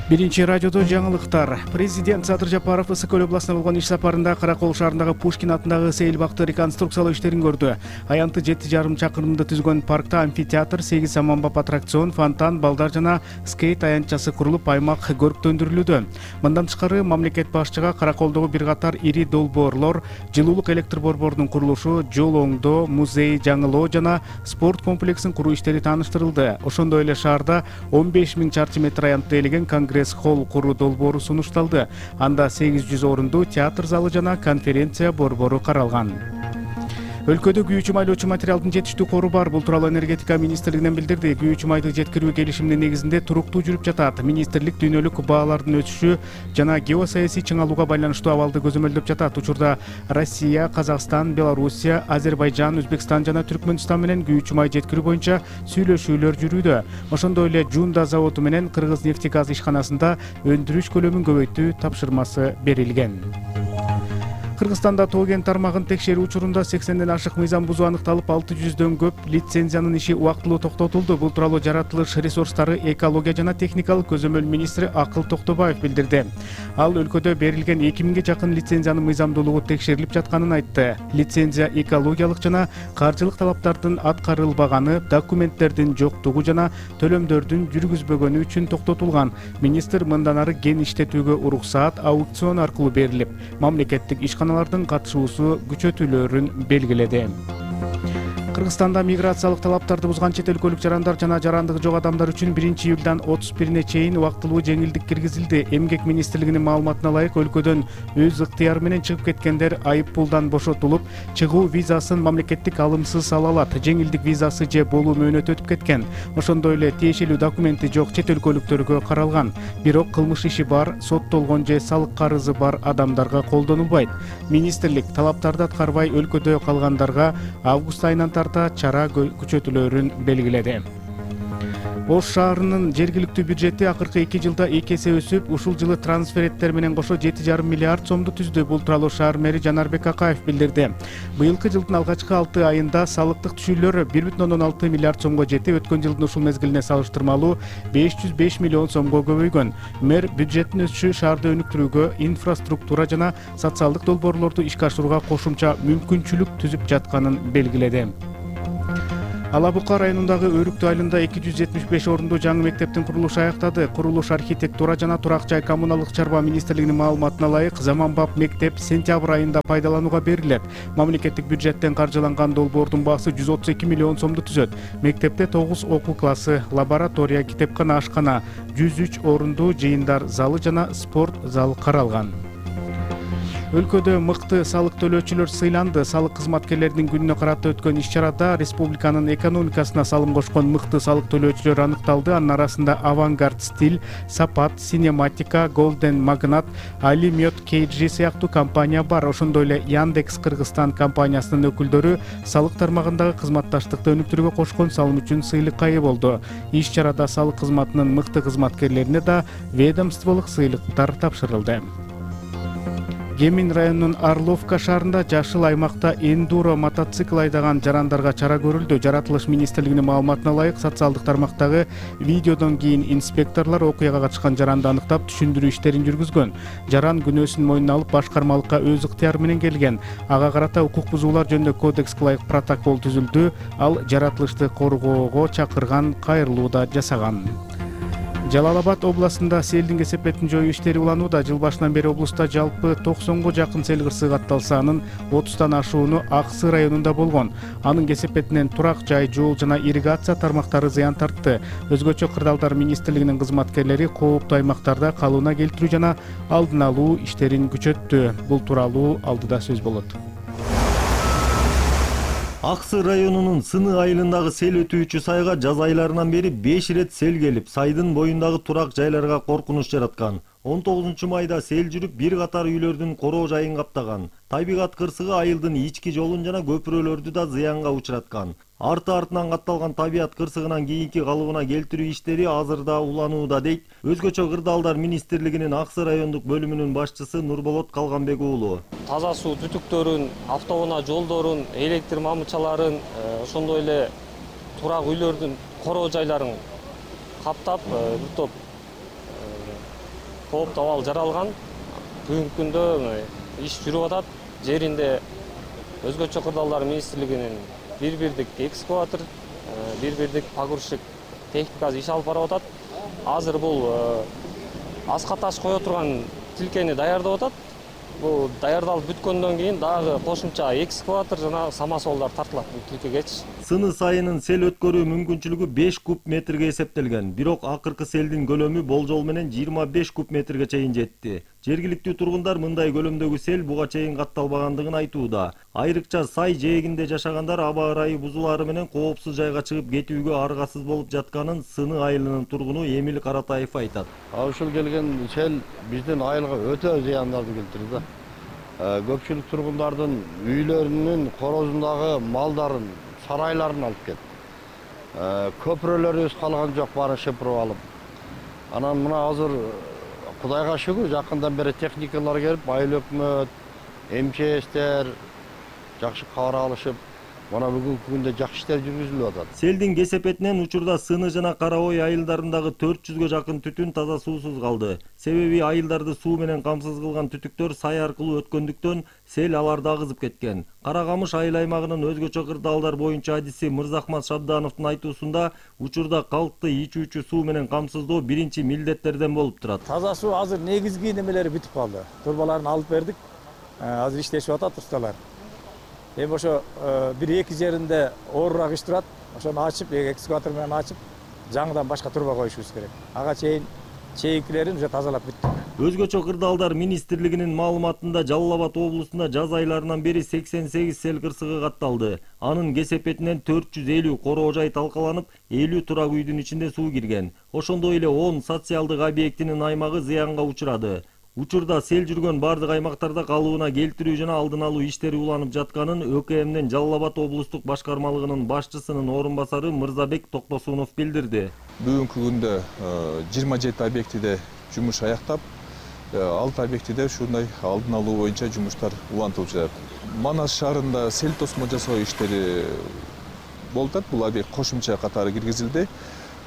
Биринчи радиодо жаңылыктар. Президент Садыр Жапаров Ысык-Көл областына болгон иш сапарында Каракол шаарындагы Пушкин атындагы сейил бакты реконструкциялоо иштерин көрдү. Аянты 7,5 чакырымды түзгөн паркта амфитеатр, 8 саманбап аттракцион, фонтан, балдар жана скейт аянтчасы курулуп, аймак көрктөндүрүлүүдө. Мындан тышкары мамлекет башчыга Караколдогу бир катар ири долбоорлор, жылуулук электр борборунун курулушу, жол оңдоо, музей жаңылоо жана спорт комплексин куруу иштери тааныштырылды. Ошондой эле шаарда 15.000 чарчы метр аянтты ээлеген конгресс холл куруу долбоору сунушталды. Анда 800 орунду театр залы жана конференция борбору каралган. Өлкөдө күйүүчү майлоочу материалдын жетиштүү кору бар. Бул тууралуу энергетика министрлигинен билдирди. Күйүүчү майды жеткирүү келишиминин негизинде туруктуу жүрүп жатат. Министрлик дүйнөлүк баалардын өсүшү жана геосаясий чыңалууга байланыштуу абалды көзөмөлдөп жатат. Учурда Россия, Казакстан, Белоруссия, Азербайжан, Өзбекстан жана Түркмөнстан менен күйүүчү май жеткирүү боюнча сүйлөшүүлөр жүрүүдө. Ошондой эле Жунда заводу менен Кыргыз нефтегаз ишканасында өндүрүш көлөмүн көбөйтүү тапшырмасы берилген. Кыргызстанда тоо кен тармагын текшерүү учурунда 80ден ашык мыйзам бузуу аныкталып, 600дөн көп лицензиянын иши убактылуу токтотулду. Бул тууралуу жаратылыш ресурстары, экология жана техникалык көзөмөл министри Акыл Токтобаев билдирди. Ал өлкөдө берилген 2000ге жакын лицензиянын мыйзамдуулугу текшерилип жатканын айтты. Лицензия экологиялык жана каржылык талаптардын аткарылбаганы, документтердин жоктугу жана төлөмдөрдүн жүргүзбөгөнү үчүн токтотулган. Министр мындан ары кен иштетүүгө уруксаат аукцион аркылуу берилип, мамлекеттик ишканалардын катышуусу күчөтүлөөрүн белгиледи. Кыргызстанда миграциялык талаптарды бузган чет өлкөлүк жарандар жана жарандыгы жок адамдар үчүн 1-июлдан 31-ине чейин убактылуу жеңилдик киргизилди. Эмгек министрлигинин маалыматына ылайык, өлкөдөн өз ыктыяры менен чыгып кеткендер айып пулдан бошотулуп, чыгуу визасын мамлекеттик алымсыз ала алат. Жеңилдик визасы же болуу мөөнөтү өтүп кеткен, ошондой эле тиешелүү документи жок чет өлкөлүктөргө каралган. Бирок кылмыш иши бар, соттолгон же салык карызы бар адамдарга колдонулбайт. Министрлик талаптарды аткарбай өлкөдө калгандарга август айынан чара күчөтүлөөрүн белгиледи. Ош шаарынын жергиликтүү бюджети акыркы 2 жылда 2 эсе өсүп, ушул жылы трансферттер менен кошо 7,5 миллиард сомду түздү. Бул тууралуу шаар мэри Жанарбек Акаев билдирди. Быйылкы жылдын алгачкы 6 айында салыктык түшүүлөр 1,6 миллиард сомго жетип, өткөн жылдын ушул мезгилине салыштырмалуу 505 миллион сомго көбөйгөн. Мэр бюджеттин өсүшү шаарды өнүктүрүүгө, инфраструктура жана социалдык долбоорлорду ишке ашырууга кошумча мүмкүнчүлүк түзүп жатканын белгиледи. Ала Бука районундагы Өрүктүү айылында 275 орунду жаңы мектептин курулушу аяктады. Курулуш архитектура жана турак жай коммуналдык чарба министрлигинин маалыматына ылайык, заманбап мектеп сентябрь айында пайдаланууга берилет. Мамлекеттик бюджеттен каржыланган долбоордун баасы 132 миллион сомду түзөт. Мектепте 9 окуу классы, лаборатория, китепкана, ашкана, 103 орунду жыйындар залы жана спорт зал каралган. Өлкөдө мыкты салык төлөөчүлөр сыйланды. Салык кызматкерлеринин күнүнө карата өткөн иш-чарада республиканын экономикасына салым кошкон мыкты салык төлөөчүлөр аныкталды. Анын арасында Авангард Стиль, Сапат, Синематика, Golden Magnat, Алимет KG сыяктуу компания бар. Ошондой эле Яндекс Кыргызстан компаниясынын өкүлдөрү салык тармагындагы кызматташтыкты өнүктүрүүгө кошкон салым үчүн сыйлыкка ээ болду. Иш-чарада салык кызматынын мыкты кызматкерлерине да ведомстволук сыйлыктар тапшырылды. Кемин районунун Орловка шаарында жашыл аймакта эндуро мотоцикл айдаган жарандарга чара көрүлдү. Жаратылыш министрлигинин маалыматына ылайык, социалдык тармактагы видеодон кийин инспекторлор окуяга катышкан жаранды аныктап, түшүндүрүү иштерин жүргүзгөн. Жаран күнөөсүн мойнуна алып, башкармалыкка өз ыктыяры менен келген. Ага карата укук бузуулар жөнүндө кодекске ылайык протокол түзүлдү. Ал жаратылышты коргоого чакырган кайрылуу да жасаган. Жалал Абад областында селдин кесепетин жоюу иштери уланууда. Жыл башынан бери облуста жалпы 90га жакын сел кырсыгы катталса, анын 30тан ашууну Аксы районунда болгон. Анын кесепетинен турак жай, жол жана ирригация тармактары зыян тартты. Өзгөчө кырдаалдар министрлигинин кызматкерлери кооптуу аймактарда калыбына келтирүү жана алдын алуу иштерин күчөттү. Бул тууралуу алдыда сөз болот. Аксы районунун Сыны айылындагы сел өтүүчү сайга жаз айларынан бери 5 ирет сел келип, сайдын боюндагы турак жайларга коркунуч жараткан. 19-майда сел жүрүп, бир катар үйлөрдүн короо жайын каптаган. Табигат кырсыгы айылдын ички жолун жана көпүрөлөрдү да зыянга учураткан. Арты-артынан катталган табиат кырсыгынан кийинки калыбына келтирүү иштери азырда уланууда, дейт Өзгөчө кырдаалдар министрлигинин Аксы райондук бөлүмүнүн башчысы Нурболот Калганбек уулу. Таза суу түтүктөрүн, автоунаа жолдорун, электр мамычаларын, ошондой эле турак үйлөрдүн короо жайларын каптап, бир топ кооптуу абал жаралган. Бүгүнкү күндө иш жүрүп атат. Жеринде Өзгөчө кырдаалдар министрлигинин бир-бирдик экскаватор, бир-бирдик погрузчик техникасы иш алып барып атат. Азыр бул аска таш кое турган тилкени даярдап атат. Бул даярдалып бүткөндөн кийин дагы кошумча экскаватор жана самосвалдар тартылат бул тилкегечи. Сыны сайынын сел өткөрүү мүмкүнчүлүгү 5 куб метрге эсептелген. Бирок акыркы селдин көлөмү болжол менен 25 куб метрге чейин жетти. Жергиликтүү тургундар мындай көлөмдөгү сел буга чейин катталбагандыгын айтууда. Айрыкча сай жээгинде жашагандар аба ырайы бузулаары менен коопсуз жайга чыгып кетүүгө аргасыз болуп жатканын Сыны айылынын тургуну Эмил Каратаев айтат. Ушул келген сел биздин айылга өтө зыяндарды келтирди. Көпчүлүк тургундардын үйлөрүнүн корозундагы малдарын, сарайларын алып кетти. Көпүрөлөрүбүз калган жок, баарын шыпырып алып. Анан мына азыр Кудайга шүгүр, жакындан бери техникалар келип, айыл өкмөт, МЧСтер жакшы кабар алышып, мына бүгүнкү күндө жакшы иштер жүргүзүлүп атат. Селдин кесепетинен учурда Сыны жана Кара Ой айылдарындагы 400гө жакын түтүн таза суусуз калды. Себеби айылдарды суу менен камсыз кылган түтүктөр сай аркылуу өткөндүктөн сел аларды агызып кеткен. Кара Камыш айыл аймагынын өзгөчө кырдаалдар боюнча адиси Мырзахмат Шабдановдун айтуусунда учурда калкты ичүүчү суу менен камсыздоо биринчи милдеттерден болуп турат. Таза суу азыр негизги немелери бүтүп калды. Турбаларын алып бердик. Азыр иштешип атат усталар. Эми ошо бир-эки жеринде оорураак иш турат. Ошону ачып, экскаватор менен ачып, жаңыдан башка турба коюшубуз керек. Ага чейинкилерин уже тазалап бүттүк. Өзгөчө кырдаалдар министрлигинин маалыматында Жалал Абад облусунда жаз айларынан бери 88 сел кырсыгы катталды. Анын кесепетинен 450 короо жай талкаланып, 50 турак үйдүн ичинде суу кирген. Ошондой эле 10 социалдык объектинин аймагы зыянга учурады. Учурда сел жүргөн бардык аймактарда калыбына келтирүү жана алдын алуу иштери уланып жатканын ÖKM'ден Жалал Абад облустук башкармалыгынын башчысынын орун басары Мырзабек Токтосунов билдирди. Бүгүнкү күндө 27 объектиде жумуш аяктап, 6 объектиде ушундай алдын алуу боюнча жумуштар улантылып жатат. Манас шаарында сел тосмо жасоо иштери болуп атат. Бул объект кошумча катары киргизилди.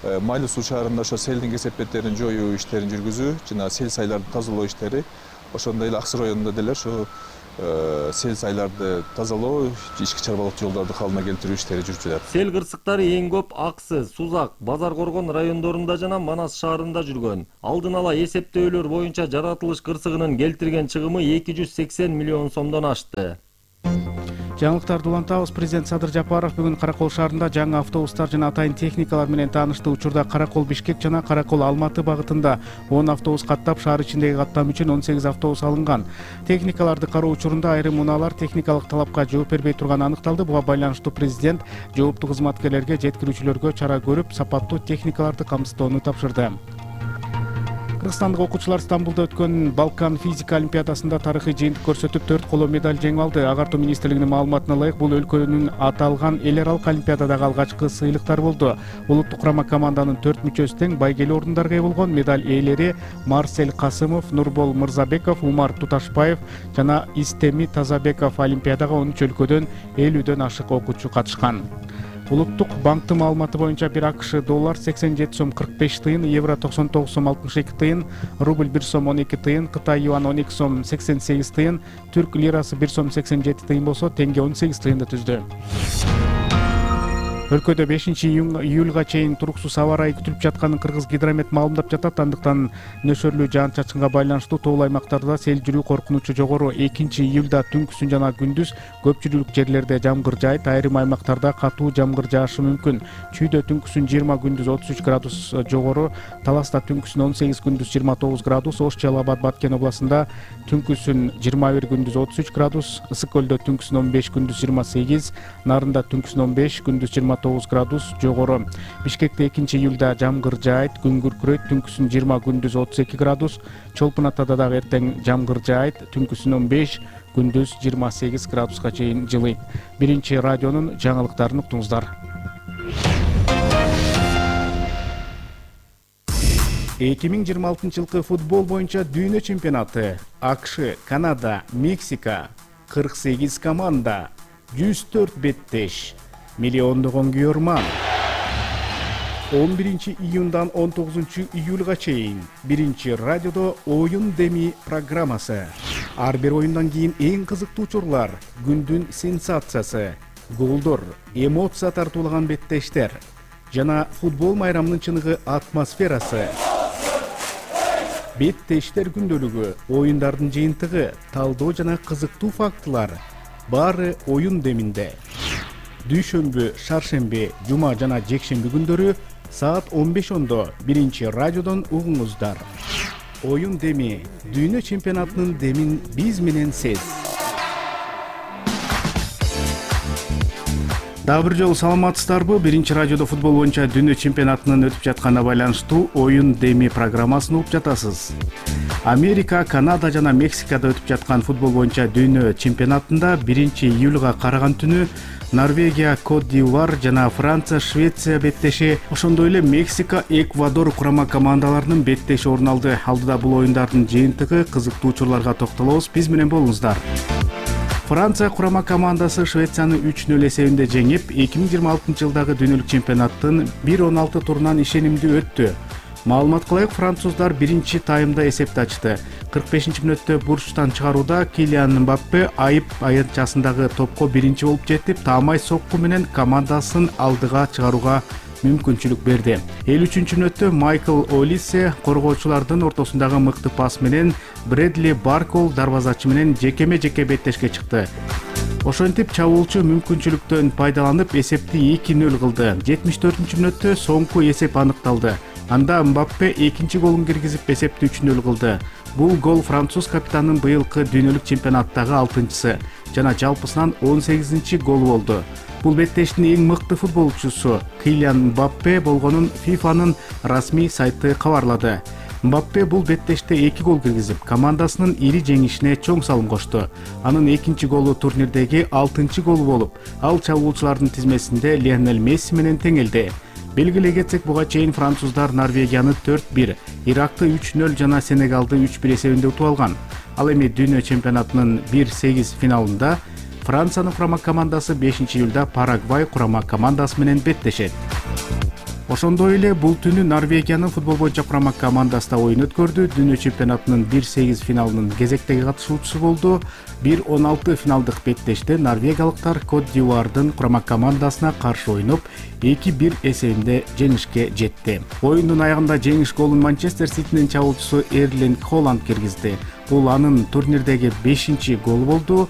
Майлы суу шаарында ошо селдин кесепеттерин жоюу иштерин жүргүзүү жана сел сайларды тазалоо иштери, ошондой эле Аксы районунда деле ошо сел сайларды тазалоо, ички чарбалык жолдорду калыбына келтирүү иштери жүрүп жатат. Сел кырсыктары эң көп Аксы, Сузак, Базар Коргон райондорунда жана Манас шаарында жүргөн. Алдын ала эсептөөлөр боюнча жаратылыш кырсыгынын келтирген чыгымы 280 миллион сомдон ашты. Жаңылыктарды улантабыз. Президент Садыр Жапаров бүгүн Каракол шаарында жаңы автобустар жана атайын техникалар менен таанышты. Учурда Каракол Бишкек жана Каракол Алматы багытында 10 автобус каттап, шаар ичиндеги каттам үчүн 18 автобус алынган. Техникаларды кароо учурунда айрым унаалар техникалык талапка жооп бербей турганы аныкталды. Буга байланыштуу президент жооптуу кызматкерлерге, жеткирүүчүлөргө чара көрүп, сапаттуу техникаларды камсыздоону тапшырды. Кыргызстандык окуучулар Стамбулда өткөн Балкан физика олимпиадасында тарыхый жыйынтык көрсөтүп 4 коло медаль жеңип алды. Агартуу министрлигинин маалыматына ылайык, бул өлкөнүн аталган эл аралык олимпиададагы алгачкы сыйлыктар болду. Улуттук курама команданын 4 мүчөсү тең байгелүү орундарга ээ болгон. Медаль ээлери Марсель Касымов, Нурбол Мырзабеков, Умар Туташбаев жана Истеми Тазабеков. Олимпиадага 13 өлкөдөн 50дөн ашык окуучу катышкан. Улуттук банктын маалыматы боюнча бир АКШ доллар 87 сом 45 тыйын, евро 99 сом 62 тыйын, рубль 1 сом 12 тыйын, Кытай юан 12 сом 88 тыйын, түрк лирасы 1 сом 87 тыйын болсо, теңге 18 тыйынды түздү. Өлкөдө 5-июлга чейин туруксуз аба ырайы күтүлүп жатканын Кыргыз гидромет маалымдап жатат. Андыктан нөшөрлүү жаан-чачынга байланыштуу тоол аймактарда сел жүрүү коркунучу жогору. 2-июлда түнкүсүн жана күндүз көпчүлүк жерлерде жамгыр жаайт, айрым аймактарда катуу жамгыр жаашы мүмкүн. Чүйдө түнкүсүн 20, күндүз 33 градус жогору, Таласта түнкүсүн 18, күндүз 29 градус, Ош, Жалал Абад, Баткен областында түнкүсүн 21, күндүз 33 градус, Ысык көлдө түнкүсүн 15, күндүз 28, Нарында түнкүсүн 15, күндүз 29 градус жогору. Бишкекте 2-июлда жамгыр жаайт, күн күркүрөйт, түнкүсүн 20, күндүз 32 градус, Чолпун Атада дагы эртең жамгыр жаайт, түнкүсүн 15, күндүз 28 градуска чейин жылыйт. Биринчи радионун жаңылыктарын уктуңуздар. 2026 жылкы футбол боюнча дүйнө чемпионаты. АКШ, Канада, Мексика, 48 команда, 104 беттеш, миллиондогон күйөрман. 11-июндан 19-июлга чейин биринчи радиодо оюн деми программасы. Ар бир оюндан кийин эң кызыктуу учурлар, күндүн сенсациясы, голдор, эмоция тартуулаган беттештер жана футбол майрамынын чыныгы атмосферасы. Беттештер күндөлүгү, оюндардын жыйынтыгы, талдоо жана кызыктуу фактылар баары оюн деминде. Дүйшөмбү, шаршемби, жума жана жекшемби күндөрү саат 15:00 биринчи радиодон угуңуздар. Оюн деми, дүйнө чемпионатынын демин биз менен сез. Дагы бир жолу саламатсыздарбы? Биринчи радиодо футбол боюнча дүйнө чемпионатынын өтүп жатканына байланыштуу оюн деми программасын угуп жатасыз. Америка, Канада жана Мексикада өтүп жаткан футбол боюнча дүйнө чемпионатында 1-июлга караган түнү Норвегия, Кот д'Ивуар жана Франция, Швеция беттеши, ошондой эле Мексика, Эквадор курама командаларынын беттеши орун алды. Алдыда бул оюндардын жыйынтыгы, кызыктуу учурларга токтолобуз. Биз менен болуңуздар. Франция курама командасы Швецияны 3-0 эсебинде жеңип, 2026 жылдагы дүйнөлүк чемпионаттын 1-16 турунан ишенимдүү өттү. Маалымат кылайык, француздар биринчи таймда эсепти ачты. 45-мүнөттө бурчтан чыгарууда Килиан Мбаппе айып аянтчасындагы топко биринчи болуп жетип, таамай сокку менен командасын алдыга чыгарууга мүмкүнчүлүк берди. 53-мүнөттө Майкл Олисе коргоочулардын ортосундагы мыкты пас менен Брэдли Баркол дарбазачы менен жекеме-жеке беттешке чыкты. Ошентип чабуучу мүмкүнчүлүктөн пайдаланып эсепти 2-0 кылды. 74-мүнөттө соңку эсеп аныкталды. Анда Мбаппе экинчи голун киргизип эсепти 3-0 кылды. Бул гол француз капитанынын быйылкы дүйнөлүк чемпионаттагы 6-сы жана жалпысынан 18-чи голу болду. Бул беттештин эң мыкты футболчусу Килиан Мбаппе болгонун ФИФАнын расмий сайты кабарлады. Мбаппе бул беттеште 2 гол киргизип, командасынын ири жеңишине чоң салым кошту. Анын экинчи голу турнирдеги 6-чы голу болуп, ал чабуучулардын тизмесинде Лионель Месси менен теңелди. Белгилей кетсек, буга чейин француздар Норвегияны 4-1, Иракты 3-0 жана Сенегалды 3-1 эсебинде утуп алган. Ал эми дүйнө чемпионатынын 1-8 финалында Франциянын курама командасы 5-июлда Парагвай курама командасы менен беттешет. Ошондой эле бул түнү Норвегиянын футбол боюнча курама командасы да оюн өткөрдү. Дүйнө чемпионатынын 1-8 финалынын кезектеги катышуучусу болду. 1-16 финалдык беттеште норвегиялыктар Кот д'Ивуардын курама командасына каршы ойноп 2-1 эсебинде жеңишке жетти. Оюндун аягында жеңиш голун Манчестер Ситинин чабуучусу Эрлинг Холланд киргизди. Бул анын турнирдеги 5-чи голу болду.